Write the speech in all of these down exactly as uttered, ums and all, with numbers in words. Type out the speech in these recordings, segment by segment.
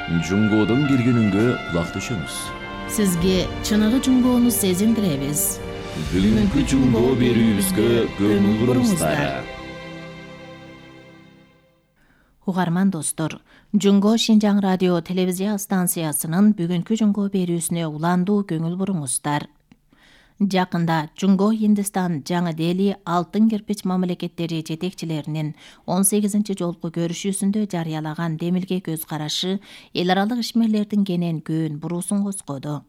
Жунгоодон келгенүнгө кулак түшүңүз. Сизге чыныгы жунгоону сезиндиребиз. Бүгүнкү жунгоо берүүбүзгө көңүл буруңуздар. Угарман достор, Жунгоо Шинжаң радио телевизия станциясынын бүгүнкү жунгоо берүүсүнө уландуу көңүл буруңуздар. Жакында Жунгоо Индистан Жаңы Дели алтын кирпич мамлекеттери жетекчилеринин он сегизинчи жолку көрүшүүсүндө жарыялаган демилге көз карашы эл аралык ишмерлердин кенен көөн буруусун козгоду.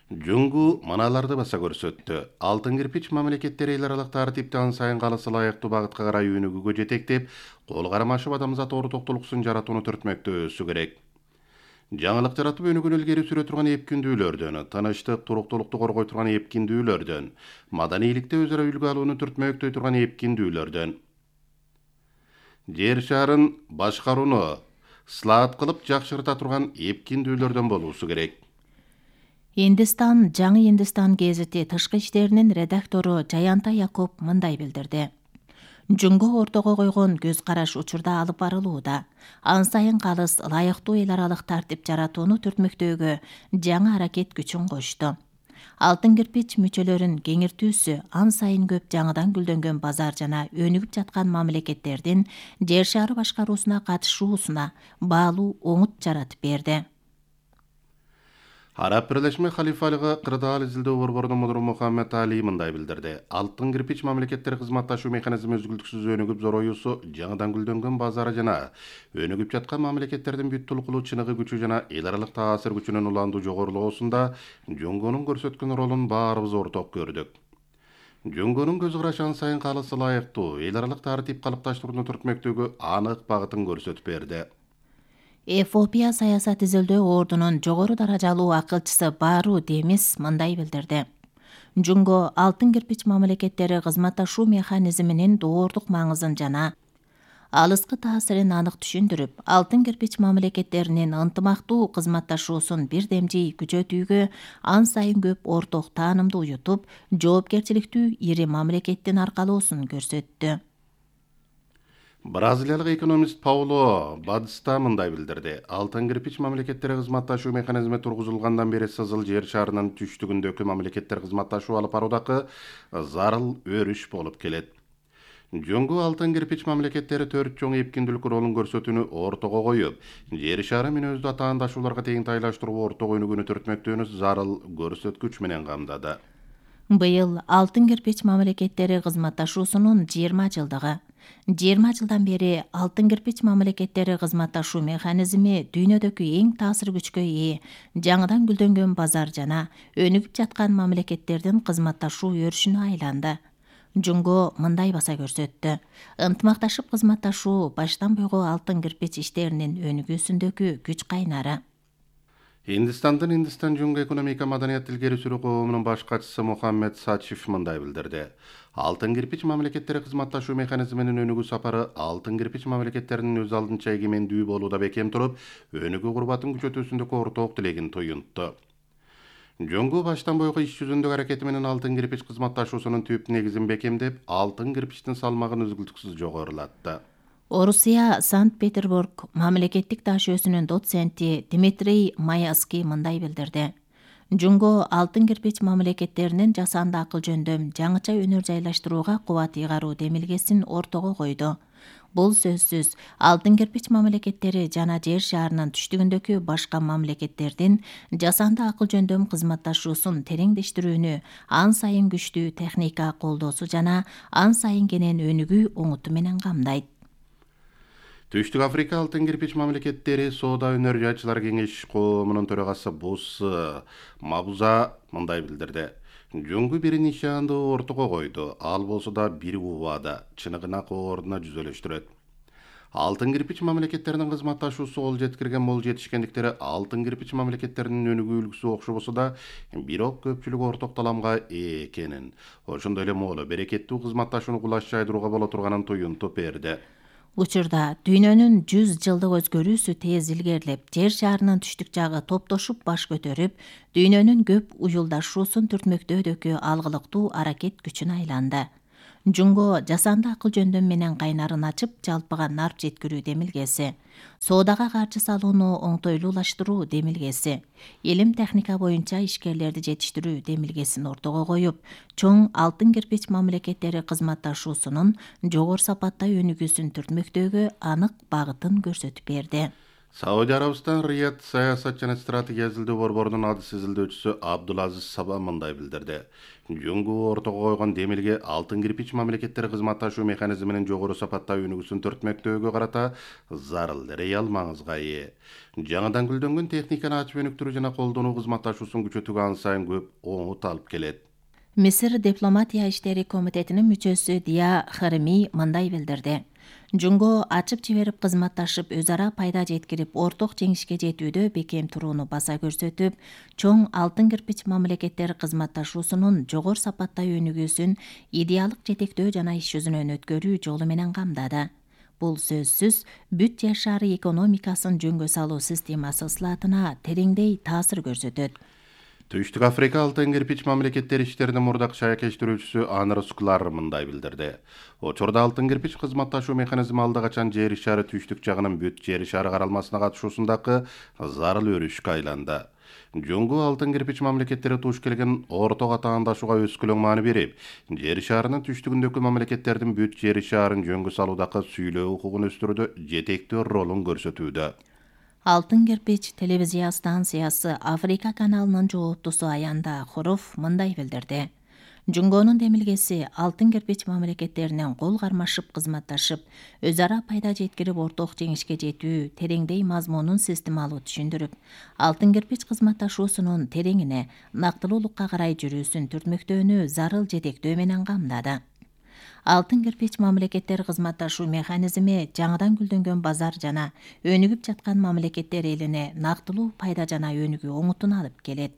Жунгу маналарды баса көрсөттү. Алтын кирпич мамлекеттери эл аралык тартипти ан сайын калысы ылайыктуу багытка карай өнүгүүгө жетектеп, кол кармашып адамзат ортоктулуксун жаратууну түртмөктө өсү керек. Жаңылык жаратып өнүгүүнү илгери сүрө турган эпкиндүүлөрдөн, тынычтык, туруктуулукту коргой турган эпкиндүүлөрдөн, маданийликте өзара үлгү алууну түртмөктөй турган эпкиндүүлөрдөн. Жер шарын башкарууну слаат кылып жакшырта турган эпкиндүүлөрдөн болуусу керек. Индистан Жаңы Индистан гезити тышкы иштеринин редактору Жаянта Якоб мындай билдирди. Жунгоо ортого койгон көз караш учурда алып барылууда. Ан сайын калыс ылайыктуу эл аралык тартип жаратууну түртмөктөөгө жаңы аракет күчүн кошту. Алтын кирпич мүчөлөрүн кеңиртүүсү ан сайын көп жаңыдан гүлдөнгөн базар жана өнүгүп жаткан мамлекеттердин жер шары башкаруусуна катышуусуна баалуу оңут жаратып берди. Араб Бирлешме халифалыгы кырдаал изилдөө борборунун мудуру Мухаммед Али мындай билдирди. Алтын кирпич мамлекеттери кызматташуу механизми үзгүлтүксүз өнүгүп зороюусу жаңыдан гүлдөнгөн базары жана өнүгүп жаткан мамлекеттердин бүт тулкулуу чыныгы күчү жана эл аралык таасир күчүнүн уландуу жогорулоосунда Жунгонун көрсөткөн ролун баарыбыз орток көрдүк. Жунгонун көз карашы ан сайын калысы ылайыктуу эл аралык тартип калыпташтырууну түртмөктөгү анык багытын көрсөтүп берди. Эфиопия саясат изилдөө ордунун жогору даражалуу акылчысы Бару Демис мындай билдирди. Жунгоо алтын кирпич мамлекеттери кызматташуу механизминин доордук маңызын жана алыскы таасирин анык түшүндүрүп, алтын кирпич мамлекеттеринин ынтымактуу кызматташуусун бирдемжий күчөтүүгө ан сайын көп орток таанымды уютуп, жоопкерчиликтүү ири мамлекеттин аркалоосун көрсөттү. Бразилиялык экономист Пауло Бадыста мындай билдирди. Алтын кирпич мамлекеттери кызматташуу механизми тургузулгандан бери сызыл жер шарынын түштүгүндөгү мамлекеттер кызматташуу алып баруудагы зарыл өрүш болуп келет. Жунгу алтын кирпич мамлекеттери төрт чоң эпкиндүүлүк ролун көрсөтүүнү ортого коюп, жер шары мүнөздүү атаандашууларга тең тайлаштыруу ортого өнүгүүнү түртмөктөөнү зарыл көрсөткүч менен камдады. Быйыл алтын кирпич мамлекеттери кызматташуусунун жыйырма жылдыгы. жыйырма жылдан бери алтын кирпич мамлекеттери кызматташуу механизми дүйнөдөгү эң таасир күчкө ээ жаңыдан гүлдөнгөн базар жана өнүгүп жаткан мамлекеттердин кызматташуу өрүшүнө айланды. Жунгоо мындай баса көрсөттү. Ынтымакташып кызматташуу баштан буйго алтын кирпич иштеринин өнүгүүсүндөгү күч кайнары. Индистандын Индистан Жунгу экономика маданият илгери сүрүү коомунун баш катчысы Мухаммед Сачиф мындай билдирди. Алтын кирпич мамлекеттери кызматташуу механизминин өнүгүү сапары алтын кирпич мамлекеттеринин өз алдынча эгемендүү болууда бекем туруп, өнүгүү курбатын күчөтүүсүндөгү орток тилегин туюнтту. Жунгу баштан бойго иш жүзүндөгү аракети менен алтын кирпич кызматташуусунун түп негизин бекемдеп, алтын кирпичтин салмагын үзгүлтүксүз жогорулатты. Орусия Санкт-Петербург мамлекеттик таш өсүнүн доценти Дмитрий Маяский мындай билдирди. Жунгоо алтын кирпич мамлекеттеринин жасанды акыл жөндөм жаңыча өнөр жайлаштырууга кубат ыйгаруу демилгесин ортого койду. Бул сөзсүз алтын кирпич мамлекеттери жана жер шарынын түштүгүндөгү башка мамлекеттердин жасанды акыл жөндөм кызматташуусун тереңдештирүүнү, ан сайын күчтүү техника колдоосу жана ан сайын кенен өнүгүү оңуту менен камдайт. Түштүк Африка алтын кирпич мамлекеттери соода өнөр жайчылар кеңеш коомунун төрагасы Бусс Мабуза мындай билдирди. Жунгу бир нишанды ортого койду, ал болсо да бир убада, чыныгына ордуна жүзөлөштүрөт. Алтын кирпич мамлекеттеринин кызматташуусу кол жеткирген мол жетишкендиктери алтын кирпич мамлекеттеринин өнүгүү үлгүсү окшобосо да, бирок көпчүлүк орток таламга ээ экенин, ошондой эле молу берекеттүү кызматташууну кулаш жайдырууга боло турганын туюнтуп берди. Учурда дүйнөнүн жүз жылдык өзгөрүүсү тез илгерилеп, жер шарынын түштүк жагы топтошуп баш көтөрүп, дүйнөнүн көп уюлдашуусун түртмөктөөдөгү алгылыктуу аракет күчүнө айланды. Жунго жасанды акыл жөндөм менен кайнарын ачып, жалпыга нарп жеткирүү демилгеси. Соодага каржы салууну оңтойлуулаштыруу демилгеси. Илим техника боюнча ишкерлерди жетиштирүү демилгесин ортого коюп, чоң алтын кирпич мамлекеттери кызматташуусунун жогору сапаттуу өнүгүүсүн түртмөктөөгө анык багытын көрсөтүп берди. Сауди Арабистан Рият саясат жана стратегия изилдөө борборунун адыс изилдөөчүсү Абдулазиз Саба мындай билдирди. Жөнгү ортого койгон демилге алтын кирпич мамлекеттери кызматташуу механизминин жогору сапаттуу өнүгүүсүн түртмөктөөгө карата зарыл, реал маңызга ээ. Жаңыдан гүлдөнгөн техниканы ачып өнүктүрүү жана колдонуу кызматташуусун күчөтүүгө ан сайын көп оңут алып келет. Мисир дипломатия иштери комитетинин мүчөсү Дия Харми мындай билдирди. Жунго ачып жиберип кызматташып, өз ара пайда жеткирип, орток жеңишке жетүүдө бекем турууну баса көрсөтүп, чоң алтын кирпич мамлекеттер кызматташуусунун жогору сапаттуу өнүгүүсүн идеалдык жетектөө жана иш жүзүнөн өткөрүү жолу менен камдады. Бул сөзсүз бүт жер шары экономикасын жөнгө салуу системасы ысылатына тереңдей таасир көрсөтөт. Түштүк Африка алтын кирпич мамлекеттер иштеринин мурдак шаякештирүүчүсү Аныр Скулар мындай билдирди. Учурда алтын кирпич кызматташуу механизми алда качан жер шары түштүк жагынын бүт жер шары каралмасына катышуусундагы зарыл өрүшкө айланды. Жөнгү алтын кирпич мамлекеттери туш келген орто катаандашууга өскөлөң маани берип, жер шарынын түштүгүндөгү мамлекеттердин бүт жер шарын жөнгө салуудагы сүйлөө укугун өстүрүүдө жетектүү ролун көрсөтүүдө. Алтын кирпич телевизия станциясы Африка каналынын жооптусу Аянда Хоров мындай билдирди. Жунгонун демилгеси алтын кирпич мамлекеттеринен кол кармашып кызматташып, өз ара пайда жеткирип орток жеңишке жетүү тереңдей мазмунун системалуу түшүндүрүп, алтын кирпич кызматташуусунун тереңине, нактылуулукка карай жүрүүсүн түртмөктөөнү зарыл жетектөө менен камдады. Алтын кирпич мамлекеттер кызматташуу механизми жаңыдан гүлдөнгөн базар жана өнүгүп жаткан мамлекеттер элине нактылуу пайда жана өнүгүү оңутун алып келет.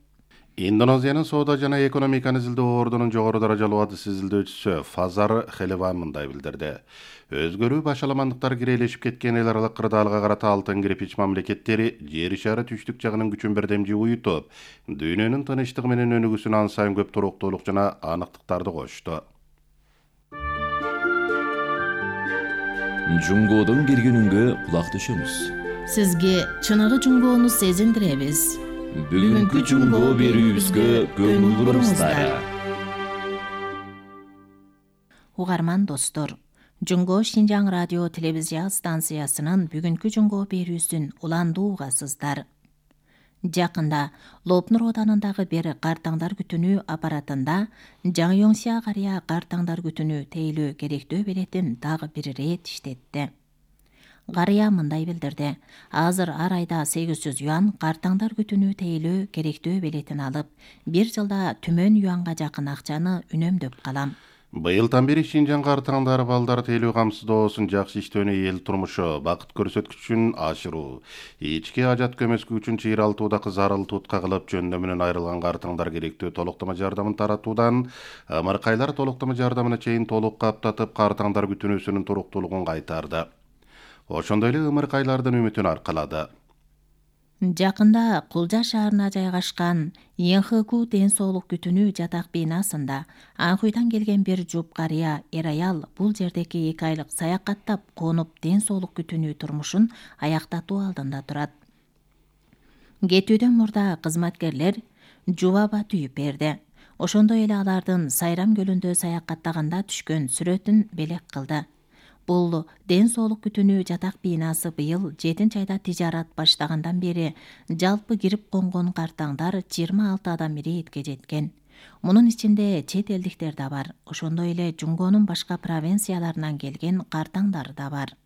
Индонезиянын соода жана экономиканы изилдөө ордунун жогору даражалуу адыс изилдөөчүсү Фазар Хелева мындай билдирди. Өзгөрүү башаламандыктар кирелешип кеткен эл аралык кырдаалга карата алтын кирпич мамлекеттери жер шары түштүк жагынын күчүн бирдемжи уютуп, дүйнөнүн тынычтыгы менен өнүгүүсүнө ан сайын көп туруктуулук жана аныктыктарды кошту. Жунгодон киргенүнгө кулак түшөмүз. Сизге чыныгы жунгоону сезиндиребиз. Бүгүнкү жунгоо берүүбүзгө көңүл буруңуздар. Угарман достор, Жунго Шинжаң радио телевизия станциясынын бүгүнкү жунгоо берүүсүн уландуу угасыздар. Жакында Лопнур оданындагы бир картаңдар күтүнүү аппаратында Жаңёңсия карыя картаңдар күтүнүү тейлөө керектөө билетин дагы бир ирет иштетти. Карыя мындай билдирди. Азыр ар айда сегиз жүз юан картаңдар күтүнүү тейлөө керектөө билетин алып, бир жылда түмөн юанга жакын акчаны үнөмдөп калам. Быйылдан бери Шинжаң картаңдары балдар тейлөө камсыздоосун жакшы иштөөнү эл турмушу, бакыт көрсөткүчүн ашыруу, ички ажат көмөскү үчүн чыйралтуудагы зарыл тутка кылып жөндөмүнөн айрылган картаңдар керектөө толуктама жардамын таратуудан ымыркайлар толуктама жардамына чейин толук каптатып картаңдар күтүнүүсүнүн туруктуулугун кайтарды. Ошондой эле ымыркайлардын үмүтүн аркалады. Жакында Кулжа шаарына жайгашкан Йенхэку ден соолук күтүнүү жатак бинасында Анхуйдан келген бир жуп карыя эр аял бул жердеги эки айлык саякаттап конуп ден соолук күтүнүү турмушун аяктатуу алдында турат. Кетүүдөн мурда кызматкерлер жубаба түйүп берди. Ошондой эле алардын Сайрам көлүндө саякаттаганда түшкөн сүрөтүн белек кылды. Бул ден соолук күтүнүү жатак бинасы быйыл жетинчи айда тижарат баштагандан бери жалпы кирип конгон картаңдар жыйырма алты адам иретке жеткен. Мунун ичинде чет элдиктер да бар. Ошондой эле Жунгонун башка провинцияларынан келген картаңдар да бар.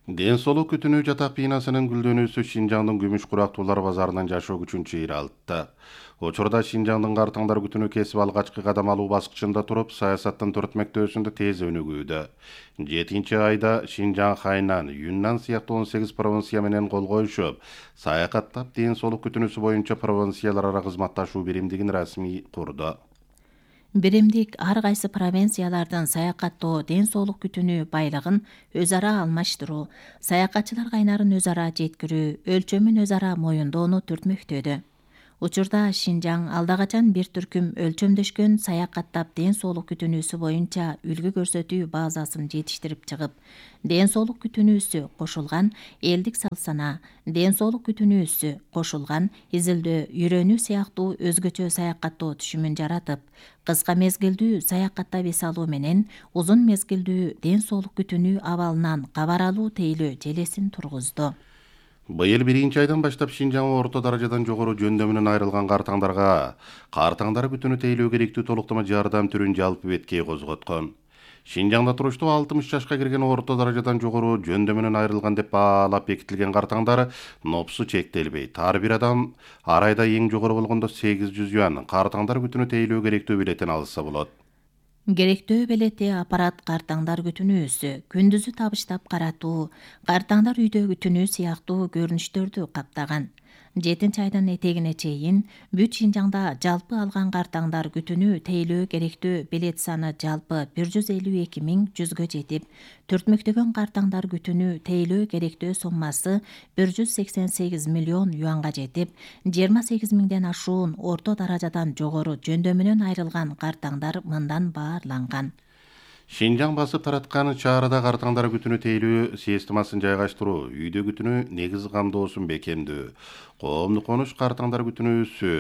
Ден соолук күтүнүү жатак бинасынын гүлдөнүүсү Шинжаңдын күмүш курактуулар базарынын жашоо күчүн чыйралтты. Учурда Шинжаңдын картаңдар күтүнүү кесип алгачкы кадам алуу баскычында туруп, саясаттын түртмөктөөсүндө тез өнүгүүдө. жетинчи айда Шинжаң, Хайнан, Юннан сыяктуу он сегиз провинция менен кол коюшуп, саякаттап ден соолук күтүнүүсү боюнча провинциялар ара кызматташуу биримдигин расмий курду. Биримдик ар кайсы провинциялардын саякаттоо, ден соолук күтүнүү байлыгын өз ара алмаштыруу, саякатчылар кайнарын өз ара жеткирүү, өлчөмүн өз ара моюндоону түртмөктөдү. Учурда Шинжаң алда качан бир түркүм өлчөмдөшкөн саякаттап ден соолук күтүнүүсү боюнча үлгү көрсөтүү базасын жетиштирип чыгып, ден соолук күтүнүүсү кошулган элдик салт-сана, ден соолук күтүнүүсү кошулган изилдөө, үйрөнүү сыяктуу өзгөчө саякаттоо түшүмүн жаратып, кыска мезгилдүү саякаттап эс алуу менен узун мезгилдүү ден соолук күтүнүү абалынан кабар алуу тейлөө желесин тургузду. Быйыл биринчи айдан баштап Шинжаң орто даражадан жогору жөндөмүнөн айрылган картаңдарга картаңдар күтүнү тейлөө керектүү толуктама жардам түрүн жалпы беткей козготкон. Шинжаңда туруштуу алтымыш жашка кирген орто даражадан жогору жөндөмүнөн айрылган деп баалап бекитилген картаңдар нопсу чектелбейт. Ар бир адам ар айда эң жогору болгондо сегиз жүз юан картаңдар күтүнү тейлөө керектүү билетин алса болот. Керектөө белети аппарат картаңдар күтүнүүсү, күндүзү табыштап каратуу, картаңдар үйдө күтүнүү сыяктуу көрүнүштөрдү каптаган. жетинчи айдын этегине чейин бүт Шинжаңда жалпы алган картаңдар күтүнүү тейлөө керектүү белет саны жалпы бир жүз элүү эки миң жүзгө жетип, төртмөктөгөн картаңдар күтүнүү тейлөө керектөө соммасы бир жүз сексен сегиз миллион юанга жетип, жыйырма сегиз миңден ашуун орто даражадан жогору жөндөмүнөн айрылган картаңдар мындан баарланган. Шинжаң басып тараткан чаарда картаңдар күтүнү тейлөө системасын жайгаштыруу, үйдө күтүнү негиз камдоосун бекемдөө, коомдук конуш картаңдар күтүнүүсү,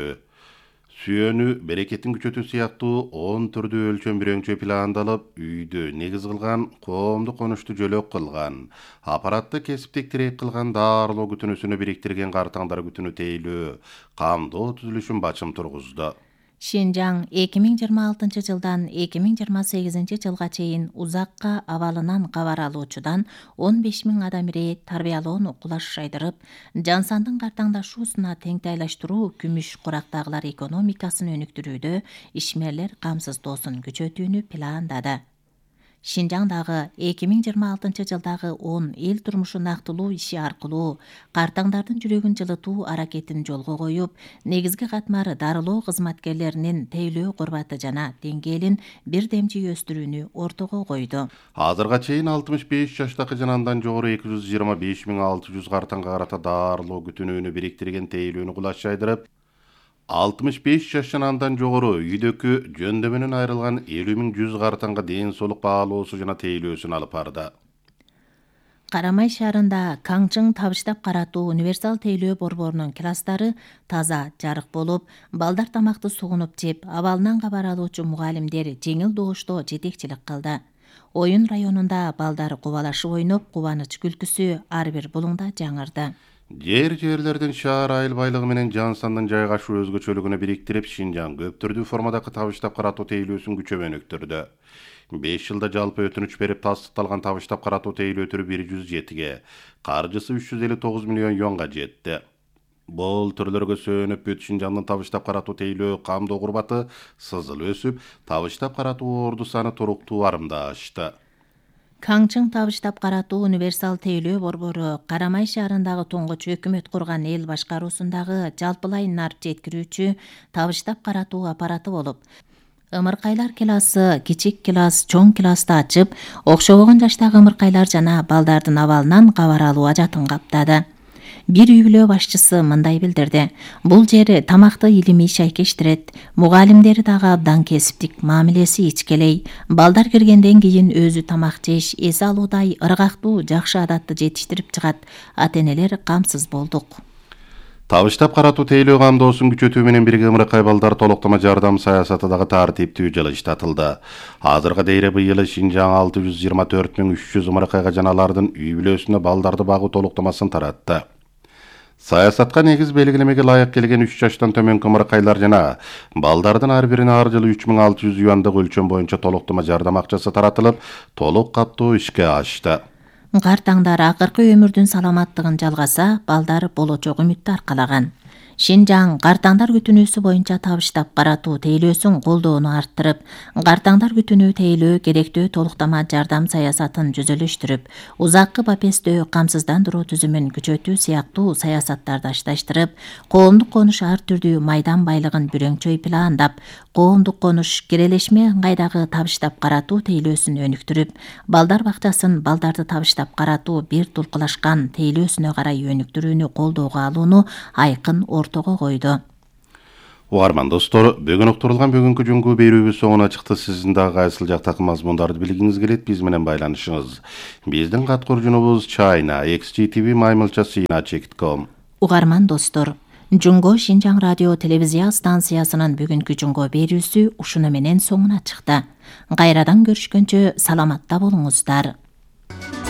сүйөнүү, берекеттин күчөтүү сыяктуу он түрдүү өлчөм бирөңчө пландалып, үйдө негиз кылган, коомдук конушту жөлөк кылган, аппаратты кесиптик тирек кылган даарылоо күтүнүүсүнө бириктирген картаңдар күтүнү тейлөө, камдоо түзүлүшүн бачым тургузду. Шинжаң эки миң жыйырма алтынчы жылдан эки миң жыйырма сегизинчи жылга чейин узакка абалынан кабар алуучудан он беш миң адам ирээт тарбиялоону кулаш шайдырып, жан сандын картаңдашуусуна теңтайлаштыруу күмүш курактагылар экономикасын өнүктүрүүдө ишмерлер камсыздоосун күчөтүүнү пландады. Шинжаңдагы эки миң жыйырма алтынчы жылдагы он эл турмушун актылуу иши аркылуу картаңдардын жүрөгүн жылытуу аракетин жолго коюп, негизги катмары дарылоо кызматкерлеринин тейлөө курбаты жана деңгээлин бир демчи өстүрүүнү ортого койду. Азырга чейин алтымыш беш жаштагы жана андан жогору эки жүз жыйырма беш миң алты жүз картаңга карата даарылоо күтүнүүнү бириктирген тейлөөнү кулаш шайдырып, алтымыш беш жаш жана андан жогору үйдөгү жөндөмүнөн айрылган элүү миң жүз картаңга ден соолук баалоосу жана тейлөөсүн алып барды. Карамай шаарында Каңчың табыштап каратуу универсал тейлөө борборунун класстары таза, жарык болуп, балдар тамакты сугунуп жеп, абалынан кабар алуучу мугалимдер жеңил добушто жетекчилик кылды. Оюн районунда балдар кубалашып ойноп, кубаныч күлкүсү ар бир булуңда жаңырды. Жер жерлердин шаар айыл байлыгы менен жан сандын жайгашуу өзгөчөлүгүнө бириктирип, Шинжаң көп түрдүү формадагы табыштап каратуу тейлөөсүн күчөмөнүктүрдү. беш жылда жалпы өтүнүч берип тастыкталган табыштап каратуу тейлөө түрү бир жүз жетиге, каржысы үч жүз элүү тогуз миллион юанга жетти. Бул түрлөргө сөөнүп бүт Шинжаңдын табыштап каратуу тейлөө камдоо курбаты сызыл өсүп, табыштап каратуу орду саны туруктуу арымда ашты. Каңчың табыштап каратуу универсал тейлөө борбору Карамай шаарындагы туңгуч өкмөт курган эл башкаруусундагы жалпылай нарп жеткирүүчү табыштап каратуу аппараты болуп, ымыркайлар классы, кичик класс, чоң классты ачып, окшобогон жаштагы ымыркайлар жана балдардын абалынан кабар алуу ажатын каптады. Бир үй бүлө башчысы мындай билдирди: бул жер тамакты илимий шайкештирет, мугалимдери дагы абдан кесиптик, мамилеси ичкелей, балдар киргенден кийин өзү тамак жеш, эс алуудай ыргактуу, жакшы адатты жетиштирип чыгат. Ата-энелер камсыз болдук. Табыштап каратуу тейлөө камдоосун күчөтүү менен бирге ымыркай балдар толуктама жардам саясаты дагы тартиптүү жылыштатылды. Азыркы дейре быйыл Шинжаң алты жүз жыйырма төрт миң үч жүз ымыркайга жана алардын үй бүлөсүнө балдарды багуу толуктамасын таратты. Саясатка негиз белгилемеге ылайык келген үч жаштан төмөнкү ымыркайлар жана балдардын ар бирине ар жылы үч миң алты жүз юандык өлчөм боюнча толуктама жардам акчасы таратылып, толук каптоо ишке ашты. Картаңдар акыркы өмүрдүн саламаттыгын жалгаса, балдар болочок үмүттү аркалаган. Шинжаң картаңдар күтүнүүсү боюнча табыштап каратуу тейлөөсүн колдоону арттырып, картаңдар күтүнүү тейлөө керектүү толуктама жардам саясатын жүзөлүштүрүп, узаккы бапестөө камсыздандыруу түзүмүн күчөтүү сыяктуу саясаттарды ашташтырып, коомдук конуш ар түрдүү майдан байлыгын бүрөңчөй пландап, коомдук конуш кирелешме ыңгайдагы табыштап каратуу тейлөөсүн өнүктүрүп, балдар бакчасын балдарды табыштап каратуу бир тулкулашкан тейлөөсүнө карай өнүктүрүүнү колдоого алууну айкын ортого койду. Угарман достор, бүгүн уктурулган бүгүнкү жуңгу берүүбүз соңуна чыкты. Сиздин дагы кайсыл жактагы мазмундарды билгиңиз келет, биз менен байланышыңыз. Биздин кат куржунубуз China X G T V маймылча сыйна чекит ком. Угарман достор, Жуңго Шинжаң радио телевизия станциясынын бүгүнкү жуңго берүүсү ушуну менен соңуна чыкты. Кайрадан көрүшкөнчө саламатта болуңуздар.